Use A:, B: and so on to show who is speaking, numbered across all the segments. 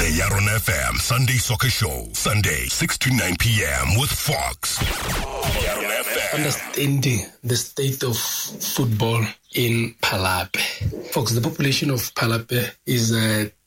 A: The Yaron FM Sunday Soccer Show, Sunday, 6 to 9 p.m. with Fox. Yaron FM.
B: Understanding the state of football in Palapye. Fox, the population of Palapye is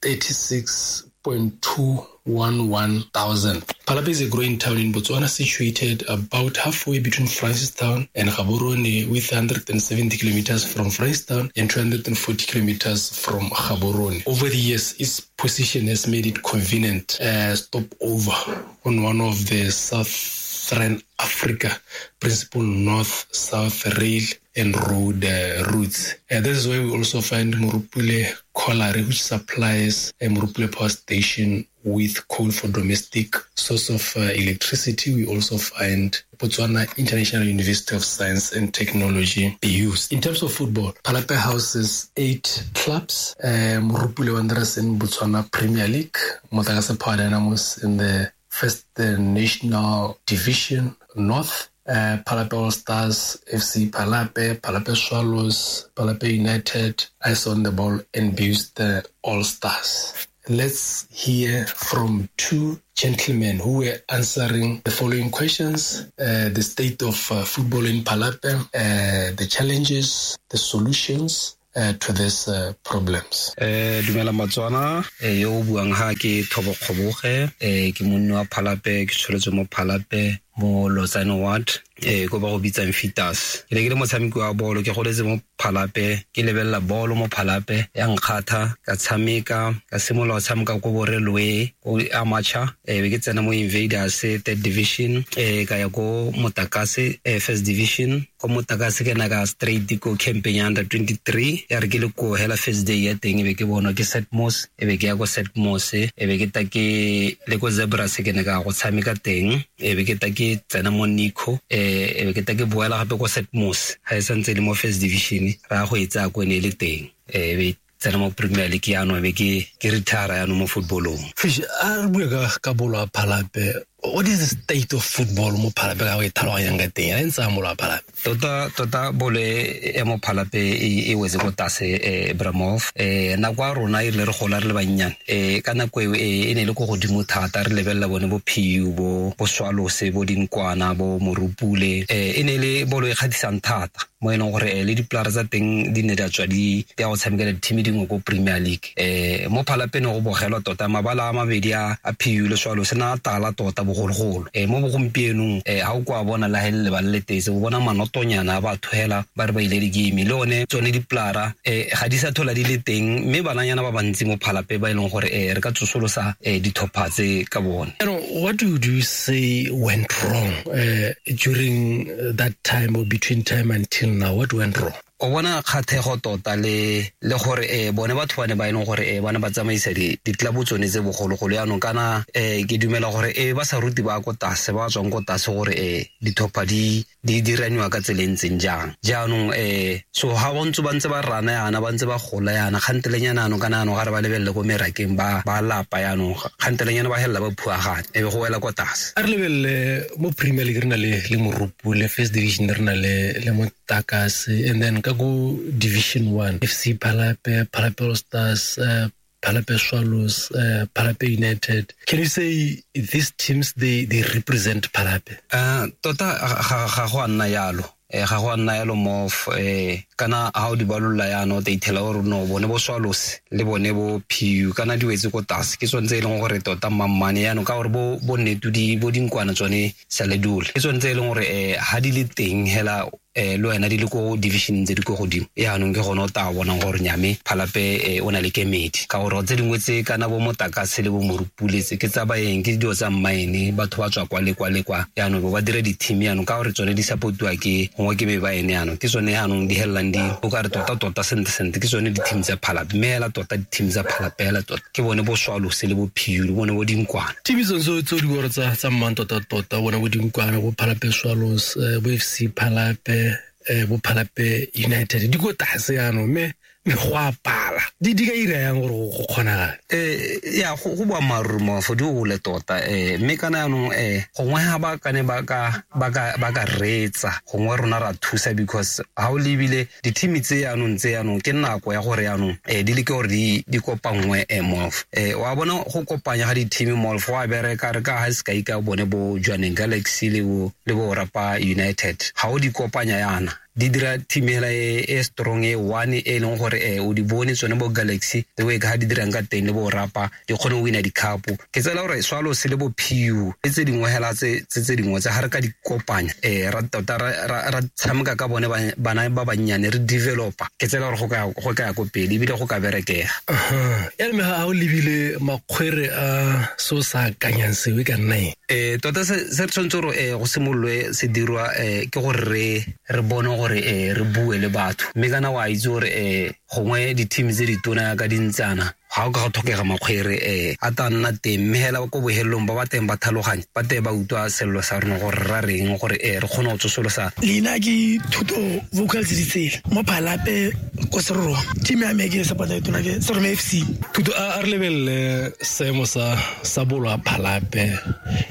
B: 36.211 thousand. Palapye is a growing town in Botswana situated about halfway between Francistown and Gaborone, with 170 kilometers from Francistown and 240 kilometers from Gaborone. Over the years, its position has made it convenient stopover on one of the Southern Africa principal north-south rail and road routes. This is where we also find Morupule Colliery, which supplies Morupule Power Station with coal for domestic source of electricity. We also find Botswana International University of Science and Technology, BUs. In terms of football, Palapye houses 8 clubs, Morupule Wanderers in Botswana Premier League, Motakase Power Dynamos in the First National Division North, Palapye All Stars, FC Palapye, Palapye Swallows, Palapye United, Eyes on the Ball, and BUs All Stars. Let's hear from two gentlemen who were answering the following questions: the state of football in Palapye, the challenges, the solutions to these problems.
C: Dumela Matswana, yo o buang ha ke Thobo Kgoboge, ke monni wa Palapye, ke tsholetswe mo Palapye mo Lotsane Ward, ko ba go bitsang Fitas. Ke ne ke le motshameki wa bolo, ke goletse mo Palapye, ke lebelela bolo mo Palapye, ya nkgatha, ka tshameka, ka simolola go tshameka ko bo Railway, ko amateur, be ke tsena mo Invaders third division, ka ya ko Motakase first division. Ko Motakase ke na ka straight ko camping ya under 23, ya re ke le ko hela first day ya teng, e be ke bonwa ke Setmos, e be ke ya ko Setmos, e be ke ta ke le ko Zebras ke ne ka go tshameka teng, e be ke ta ke tsena mo Nico, e be ke ta ke boela gape ko Setmos, ga e santse le mo first division, ra go e tsaya ko ne e le teng, e be tsena mo Premier League yaanong, e be ke retire yaanong mo footballong.
B: Fish, a re bue ka bolo ya Palapye. What is the state of football mo Palapye ka go e tlhaloganyang ka teng? A e ntse a bolo ya Palapye?
C: Tota bolo ya mo Palapye e wetse ko tlase, Bramov. Nako ya rona e rile re gola re le bannyane, ka nako eo e ne e le ko godimo thata, re lebelela bone bo PU, bo Swallows, bo Dinkwana, bo Morupule. E ne e le bolo e kgatlhisang thata mo e leng gore le dipolara tsa teng di ne di a tswa di ya go tshamekela di-team dingwe ko Premier League. Mo Palapye ne go bogelwa tota mabala a mabedi a PU le Swallows na a tala tota bogologolo. Mo bogompienong, ha o kwa bona la hele lebala le tetse, o bona manotonyana a batho hela ba re ba ile di-game, le one tsone dipolara ga di sa thola di le teng, mme bananyana ba bantsi mo Palapye ba e leng gore re ka tsosolosa ditlhopha tse ka bone.
B: What would you say went wrong during that time or between time until now? What went wrong?
C: O bona kgathego tota le gore bone batho ba ne ba e leng gore ba ne ba tsamaisa ditlelabo tsone tse bogologolo yaanong, kana ke dumela gore ba sa ruti ba ko tlase, ba tswang ko tlase gore ditlhopha di diraniwa ka tsela e ntseng jang. Jaanong so ha ba ntse ba ntse ba rana yana, ba ntse ba gola yana, kgantelenyana yaanong, kana yaanong ga re ba lebelele ko merakeng ba lapa yaanong, kgantelenyana ba helela ba phuagane, e be go wela ko tlase.
B: A re lebelele mo Premier League re na le Morupule, First Division re na le Motakase, and then ka go Division 1, FC Palapye, Palapye All Stars, Palapye Swallows, Palapye United. Can you say these teams, they represent Palapye?
C: Tota ga go a nna yalo. Ga go a nna yalo mo kana ha o di balolla yana o tla ithela gore no bone bo Swallows le bone bo PU kana di wetse ko tlase, ke tsone tse e leng gore tota mammane yaanong, ka gore bo nnetu di bo dinkwana tsone sa le dule, ke tsone tse e leng gore ha di le teng hela le wena di le ko division tse di ko godimo yaanong, ke gone o tla bonang gore nyame Palapye o na le kemedi, ka gore tse dingwe tse kana bo Motakase le bo Morupule tse ke tsa baeng, ke dilo tsa mmaene, batho ba tswa kwa le kwa le kwa yaanong ba dira di-team yaanong, ka gore tsone di supportiwa ke gongwe ke be baene yaanong, ke tsone yaanong di helelang di o ka re tota tota sentle sentle ke tsone di-team tsa Palapye, mme hela tota di-team tsa Palapye hela tota ke bone bo Swallows le bo PU le bone bo Dinkwana.
B: Team tsone tse di bore tsa mmang tota tota, bone bo Dinkwana, bo Palapye Swallows, bo FC Palapye, bo Palapye United, di ko tlase yaanong, mme Go a pala. Di ka ira yang gore go kgonagale?
C: Ya go boammaaruri mofo di ole tota mme kana yanong gongwe ga ba kane ba ka reetsa gongwe rona ra thusa because ha o lebile di-team tse yanong ke nako ya gore yanong di leke gore di kopanngwe mofo. Wa bona go kopanya ga di-team mofo wa bereka re ka ha sekai ka bone bo Jwaneng Galaxy le bo Rapa United ga o di kopanya yana di dira team hela e strong e one e leng gore o di bone tsone bo Galaxy the way ka di dirang ka teng le bo Rapa di kgone go wina di-cup. Ke tsela gore Swallows le bo PU le tse dingwe hela tse dingwe tse ga re ka di kopanya ra tota ra tshameka ka bone bana ba bannyane re developer ke tsela gore go ka ya ko pele ebile go ka berekega.
B: Ya mme ga o lebile makgwere a so sa akanyang seo e ka nna eng?
C: Tota se re tshwanetse gore go simololwe se dirwa ke gore re bone gore re bue le batho mme kana wa itse gore gongwe di-team tse ditona ka dintsana ga o ka go tlhokega makgwere a ta nna teng mme hela ko bohelelong ba ba teng ba tlhaloganya ba teng ba utlwa sello sa rona gore ra reng gore re kgone go tsosolosa.
D: Leina ke Thuto Vocals Ditsela mo Phalape ko Serorome. Team ya me ke support e tona ke Serorome FC.
B: Thuto a re lebelele seemo sa bolo ya Phalape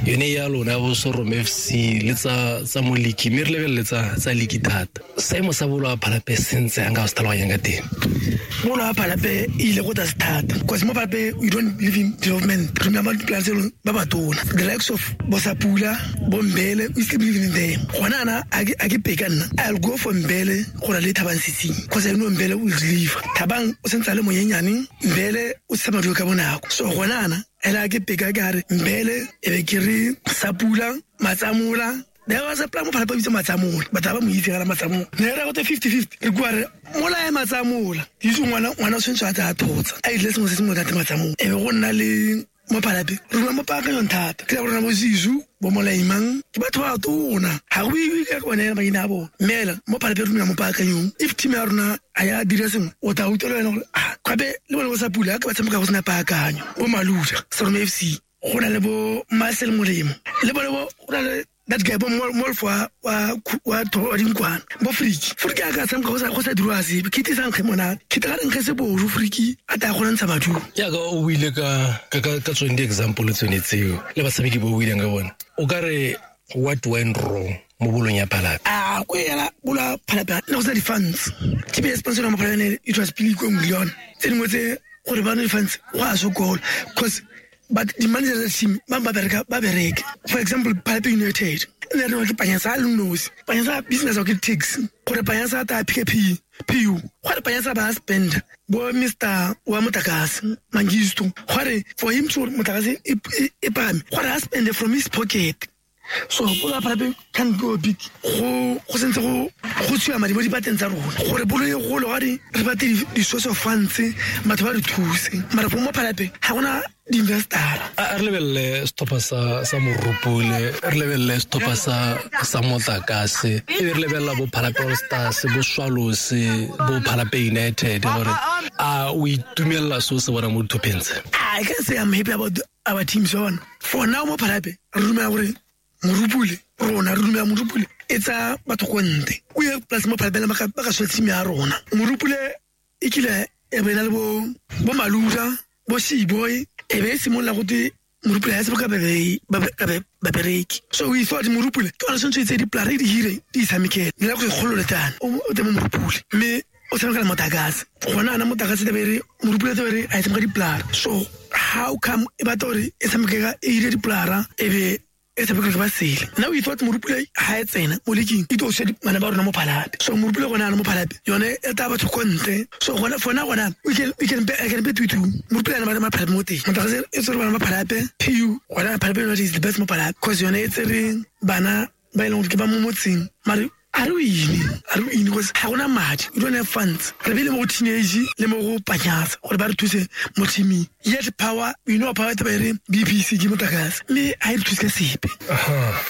B: yone ya lona bo Serorome FC le tsa mo league mme re lebelele tsa league thata. Seemo sa bolo ya Phalape se ntse yang ka go se tlhaloganyang ka teng?
D: Bolo ya Phalape e ile go tlase thata. Because mo Phalape we don't live in development. Remember the ba batona. The likes of Bosapula, Bombele, we still believe in them. Gona ana a ke peka nna. I'll go for Mbele go na le Thabang Setsing. Because I know Mbele will leave. Thabang o sentse a le monyenyane, Mbele o tsamaya ka bonako. So gona ana ela ke peka ka re Mbele e be ke re Sapula, Matsamola. There was a plan mo Phalape bitsa Matsamola. Batho ba mo itse ga Matsamola. Ne re go te 50-50. Re kwa re mola e Matsamola. Itse ngwana o tshwanetse a tsa thotsa. A ile sengwe se sengwe ka te Matsamola. E be go nna le mo Phalape. Re rona mo paakanyong thata. Ke rona bo Zizu, bo Molaimang, ke batho ba tona. Ha go iwe ka bone maina a bone. Mela mo Phalape re rona mo paakanyong. If team ya rona a ya dira sengwe, o tla utlwa le wena gore gape le bone bo Sapula ka ba tshameka go sena paakanyo. Bo Maluja, Serorome FC, go na le bo Marcel Molemo. Le bone bo go na le that guy bo molfo wa dinkwana bo Friki. Friki a ka tshameka go sa dirwa sepe. Kete sa nkge monate. Kete ga re nkge seboru Friki a ta go ntsha maduo.
B: Jaaka o buile ka tsone di-example tsone tseo le batshameki bo o buileng ka bone. O ka re what went wrong mo bolong ya Phalape?
D: A ko ela bolo ya Phalape ne go sena di-funds. Team ya sponsor mo Phalape it was Billy Kweng. Tse dingwe tse gore ba ne di-funds go a sokola because but the manager of the team ba bereke. For example, Phalape United ne re ke Panyasa le nosi. Panyasa business o ke tax. Gore Panyasa ta PKP, PU. Gore Panyasa ba spend bo Mr. wa Motakase Mangisto. Gore for him to Motakase e pame. Gore a spend from his pocket. So bolo ya Phalape can go big. Go sentse go tswa madi mo dipateng tsa rona. Gore bolo e golo ga re batle di-source of funds batho ba re thuse. Mara mo Phalape ga gona di-investor.
B: A re lebelele setlhopha sa Morupule, re lebelele setlhopha sa Motlakase, e be re lebelela bo Phalape All Stars, bo Swallows, bo Phalape United gore a o itumelela seo se bona mo ditlhopheng tse?
D: I can say I'm happy about our teams one. For now mo Phalape re dumela gore Morupule rona re dumela Morupule e tsa batho ko ntle. O ye plus mo Phalape ba ka swa team ya rona. Morupule e kile e bena le bo Maluja, bo Seaboy e be simolola go te Morupule ha se ka babereki. So we thought Morupule ke ona sentse tse di plare di hire di tshamekele. Ne la go kgolole tana o te mo Morupule mme o tshameka le Motakase. Gona ana Motakase te bere Morupule te bere a tshameka di plare. So how come e batla gore e tshameka e hire di plare e be e tshameka ba sele. Now we thought Morupule ha e tsena mo league e tlo se bana ba rona mo Phalape. So Morupule gona ana mo Phalape yone e tla batho ko ntle. So gona for now gona we can bet with you. Morupule ana ba Phalape mo teng. Motakase e tsere bana ba Phalape PU gona Phalape is the best mo Phalape because yone e tsere bana ba e leng gore ke ba mo motseng. Mare a re wine because ga gona madi. We don't have funds. Re bile mo go teenage le mo go Panyasa gore ba re thuse mo teaming. Yet power, we know power te ba re BPC ke Motakase mme ha e re thuse ka sepe.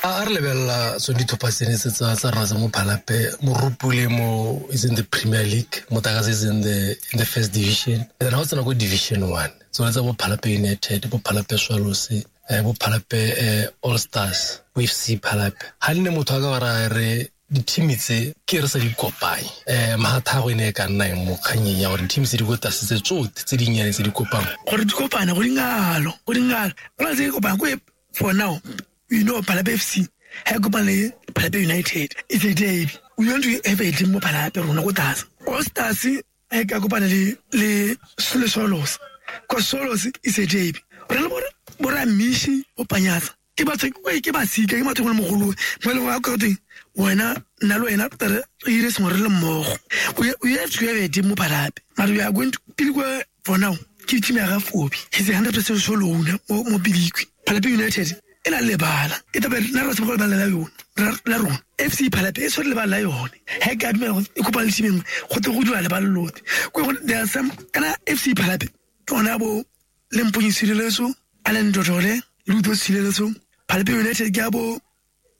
B: A re lebelela tsone ditlhopha tsene tse tsa rona tsa mo Phalape. Morupule mo is in the Premier League, Motakase is in the first division. And then ha o tsena ko Division 1 tsone tsa bo Phalape United, bo Phalape Swallows, bo Phalape All Stars, bo FC Phalape. Ha nne motho a ka ba ra re Di-team tse ke re sa di kopanye, magathago e ne e ka nna eng mo kganyeng ya gore di-team tse di ko tlase tse tsotlhe tse dinnyane tse di kopang?
D: Gore di kopane go dingalo, go dingalo, go na tse di kopana ko. For now, you know Palapye FC ha e kopana le Palapye United, it's a derby. We want to have a team mo Palapye rona ko tlase. All Stars ha e ka kopana le Swallows, cause Swallows is a derby. Re le bora Mishi o Panyatsa ke batho ke basika, ke batho go le mogolo mo e leng gore ka teng wena, nna le wena re ire sengwe re le mmogo. We have to have a team mo Palapye, mara we are going to Pilikwe. For now ke team ya ga Fobi, he's a 100% sole owner mo Pilikwe. Palapye United e na le lebala, e tabe nna re tsebe go lebala la yone la rona. FC Palapye e tshwere lebala la yone, ha e ka dumela e kopa le team e nngwe go tle go dira lebala lote. There are some kana FC Palapye ke ona bo Lemponyi Sireletso, Allen Dotole, Ludo Sireletso. Palapye United ke a bo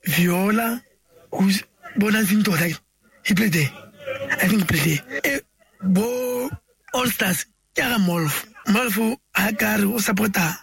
D: Viola, who's bo Nancy Ntota, he played there, I think he played there. Bo All Stars ke ga Molf. Molf ha ka re o supporta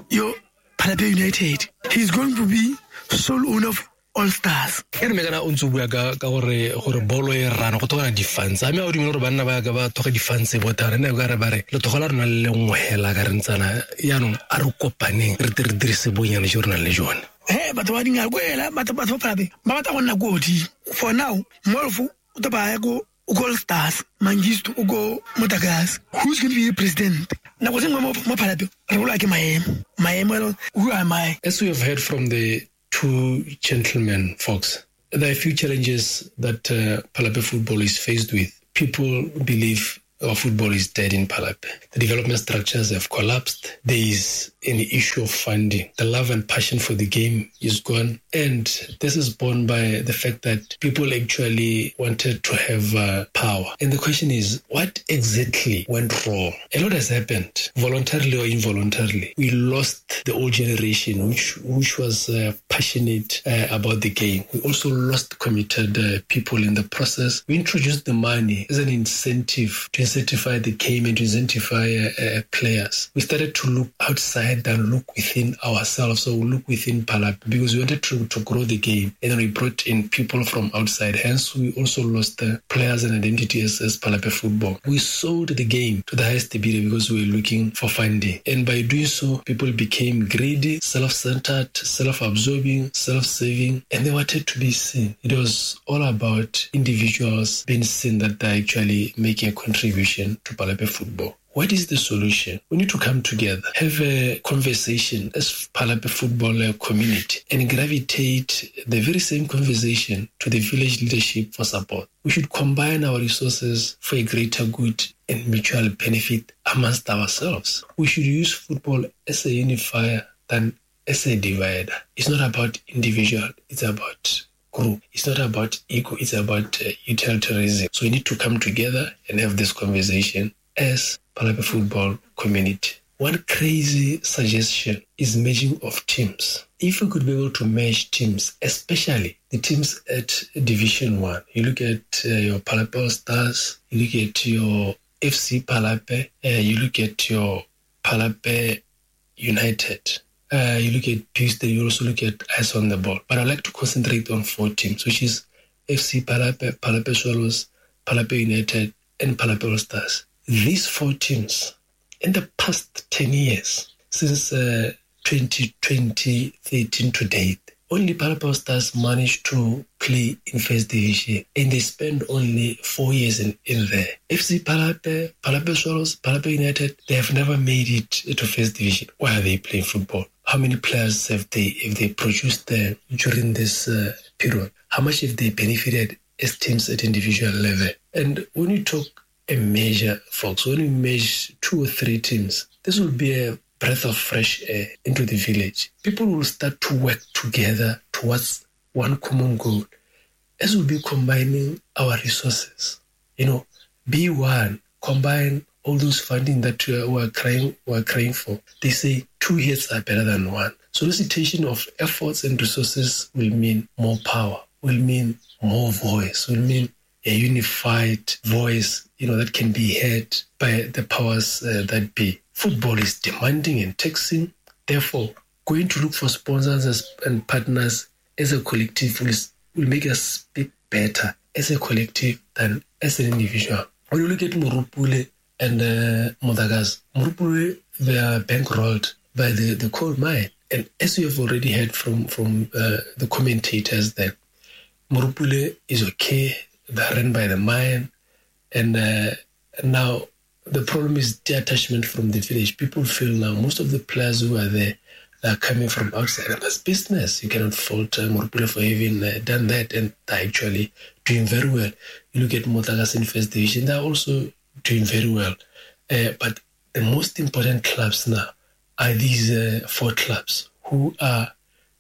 D: yo Palapye United, he's going to be sole owner of All Stars.
B: E re me kana o ntse o bua ka gore bolo e rana go tlhokana di-funds, a mme a o dumele gore banna ba ka ba tlhoka di-funds bothara ne ka re ba re lethogo la rona le lengwe hela ka re ntsana yaanong a re kopaneng re tle re dirise bonyane jo re nang le jone?
D: He batho ba dingalo ko ela batho ba Palapye ba batla go nna ko godimo. For now Molf o tla ba ya ko All Stars, Mangisto o ko Motakase. Who's going to be president? Nako tse nngwe mo Palapye re bolwa ke maemo, who am I?
B: As we have heard from the two gentlemen, folks, there are a few challenges that Palapye football is faced with. People believe our football is dead in Palapye. The development structures have collapsed. There is an issue of funding. The love and passion for the game is gone. And this is borne by the fact that people actually wanted to have power. And the question is, what exactly went wrong? A lot has happened, voluntarily or involuntarily. We lost the old generation, which was passionate about the game. We also lost committed people in the process. We introduced the money as an incentive to incentivize the game and to incentivize players. We started to look outside than look within ourselves, so we look within Palapye because we wanted to grow the game, and then we brought in people from outside. Hence, we also lost the players and identity as Palapye football. We sold the game to the highest bidder because we were looking for funding, and by doing so, people became greedy, self-centered, self-absorbing, self-serving, and they wanted to be seen. It was all about individuals being seen that they're actually making a contribution to Palapye football. What is the solution? We need to come together, have a conversation as Palapye football community, and gravitate the very same conversation to the village leadership for support. We should combine our resources for a greater good and mutual benefit amongst ourselves. We should use football as a unifier than as a divider. It's not about individual, it's about group. It's not about ego, it's about utilitarianism. So we need to come together and have this conversation as Palapye football community. One crazy suggestion is merging of teams. If we could be able to merge teams, especially the teams at Division 1, you look at your Palapye All Stars, you look at your FC Palapye, you look at your Palapye United, you look at Tuesday, you also look at Eyes on the Ball. But I like to concentrate on four teams, which is FC Palapye, Palapye Swallows, Palapye United, and Palapye All Stars. These four teams, in the past 10 years, since 2013 to date, only Palapye All Stars managed to play in First Division, and they spent only 4 years in there. FC Palapye, Palapye Swallows, Palapye United, they have never made it to First Division. Why are they playing football? How many players have they produced during this period? How much have they benefited as teams at individual level? And when you talk a measure, folks, when we measure 2 or 3 teams, this will be a breath of fresh air into the village. People will start to work together towards one common goal. As we'll be combining our resources, you know, be one, combine all those funding that we're crying for. They say 2 heads are better than one. Solicitation of efforts and resources will mean more power, will mean more voice, will mean a unified voice, you know, that can be heard by the powers that be. Football is demanding and taxing. Therefore, going to look for sponsors and partners as a collective will make us speak better as a collective than as an individual. When you look at Morupule and Motakas, Morupule, they are bankrolled by the coal mine. And as you have already heard from the commentators that Morupule is okay, they're run by the mine, and now the problem is detachment from the village. People feel now most of the players who are there are coming from outside. And that's business. You cannot fault Morupule for having done that, and they're actually doing very well. You look at Motakas in First Division, they're also doing very well. But the most important clubs now are these 4 clubs who are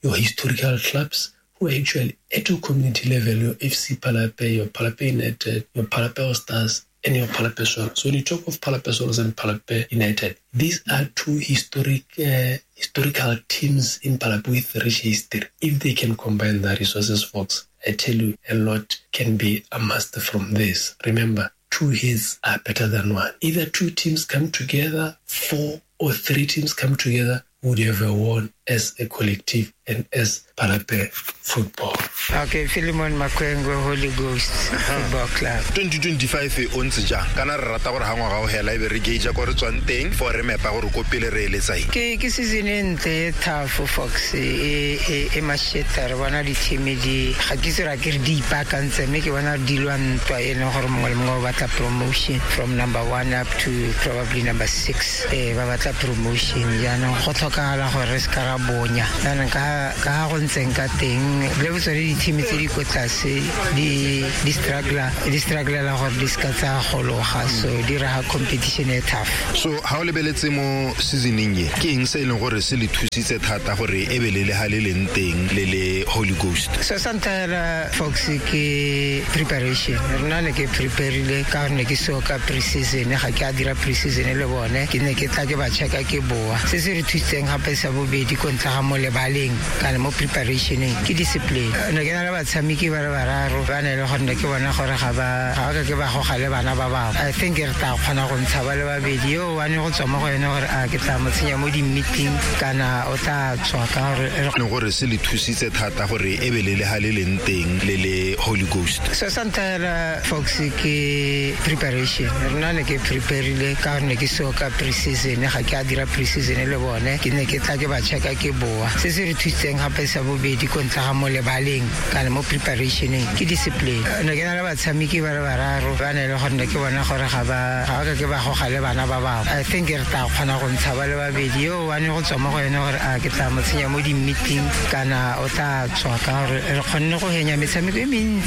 B: your historical clubs, who are actually at your community level, your FC Palapye, your Palapye United, your Palapye All Stars, and your Palapye Swallows. So when you talk of Palapye Swallows and Palapye United, these are 2 historical teams in Palapye with rich history. If they can combine their resources, folks, I tell you, a lot can be amassed from this. Remember, 2 heads are better than 1. Either 2 teams come together, 4 or 3 teams come together, would have won as a collective and as Palapye football.
E: Okay, Philemon Makwengwe, Holy Ghost Football Club.
F: 2025 o ntse jang? Kana re rata gore ha ngwaga o hela e be re gauge ko re tswang teng for re mepa gore ko pele re eletsa eng.
E: Ke season e ntle e tough, Fox, e masheta. Re bona di-team di ga ke itse ra ke re di ipaakantse, mme ke bona di lwa ntwa e leng gore mongwe le mongwe o batla promotion from number 1 up to probably number 6. Ba batla promotion. Jaanong go tlhokagala gore re se ka ra bonya. Jaanong ka ga go ntseng ka teng le botsone di-team tse di ko tlase di strugglela gore di seka tsa gologa, so di raga competition e tough.
F: So ha o lebeletse mo seasoneng e, ke eng se e leng gore se le thusitse thata gore e be le le ha le leng teng le le Holy Ghost?
E: So sa ntlha hela, Fox, ke preparation. Rona ne ke preparile ka gore ne ke seo ka pre-season, ga ke a dira pre-season le bone, ke ne ke tla ke ba checka ke boa. Se se re thusitseng gape sa bobedi ko ntle ga mo lebaleng kana mo preparationeng ke discipline. Ne ke na le batshameki ba le bararo ba ne le gore ne ke bona gore ga ba ka ke ba goga le bana ba bangwe. I think re tla kgona go ntsha ba le babedi, yo one go tswa mo go ene gore a ke tla mo tsenya mo di-meeting kana o tla tswa ka gore
F: leng gore se le thusitse thata gore e be le le ha le leng teng le le Holy Ghost.
E: So sa ntlha hela, Fox, ke preparation. Rona ne ke preparile ka gore ne ke seo ka pre-season, ga ke a dira pre-season le bone, ke ne ke tla ke ba checka ke boa. Se se re thusitseng gape sa bobedi ko ntle ga mo lebaleng kana mo preparationeng ke discipline. Ne ke na le batshameki ba le bararo ba ne le gore ne ke bona gore ga ba ka ke ba goga le bana ba bangwe. I think re tla kgona go ntsha ba le babedi, yo one go tswa mo go ene gore a ke tla mo tsenya mo di-meeting kana o tla tswa ka gore re kgonne go henya metshameko e mentsi.